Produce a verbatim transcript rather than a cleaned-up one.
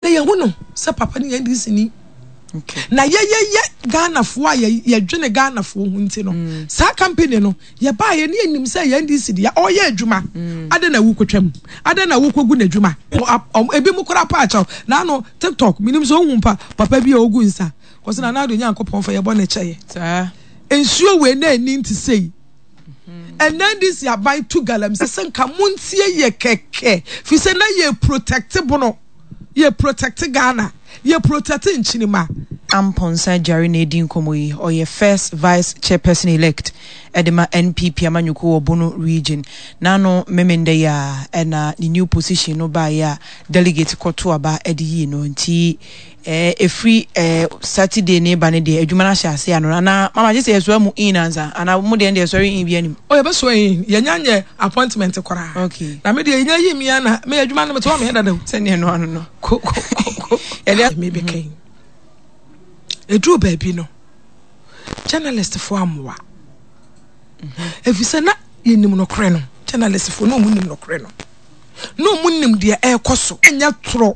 Na yɛhu no sɛ papa no yɛ N D C ni. Na yɛyɛyɛ Ghanafoɔ a yɛdwene Ghanafoɔ ho nti no, mm. saa company no yɛbaa yɛ ne yɛnim sɛ yɛ N D C deɛ, ɔyɛ adwuma mm. Adɛn na wokɔtwam? Adɛn na wokɔgu n'adwuma? Ebi mu koraa pa akyɛw naano TikTok, menim sɛ ohu pa papa bi a ɔgu nsa kɔsɛ na Nana Nyankopɔn fa yɛbɔ ne kyɛyɛ nsuo wei na ani nti sei. Ɛnɛ N D C aban tu galamsey sɛ nka montie yɛ kɛkɛ fi sɛ na yɛ protect Bono, yɛ protect Ghana, yɛ protect nkyinima. Amponsa Gyare na edi nkɔmmɔ yi. Ɔyɛ first vice chairperson elect ɛde ma N P P amanyɔkuo wɔ Bono Region. N'ano Memenda yi a ɛna ne new position no baeɛ a delegate kɔto aba ɛde yie no, nti ɛɛ efiri ɛɛ Saturday ne ba ne deɛ, adwuma no ahyɛ ase ano anaa mama gye sɛ yɛsoa mu in ansa anaa mo deɛ deɛ sɔre in bi anim? O, yɛbɛsoa in. Yɛnya nyɛ appointment koraa. Okay na me deɛ, yɛnya yi mi ana me adwuma no mete hɔ meyɛ dada o. Sɛneɛ no ano no. Ko ko ko ko. Yɛde mebɛka yi, ɛduru baabi no, journalist foɔ amoa ɛfiri sɛ na yɛnim nokorɛ no. Journalist foɔ na ɔmu nim nokorɛ no, na ɔmu nim deɛ ɛrekɔ so. Ɛnyɛ torɔ.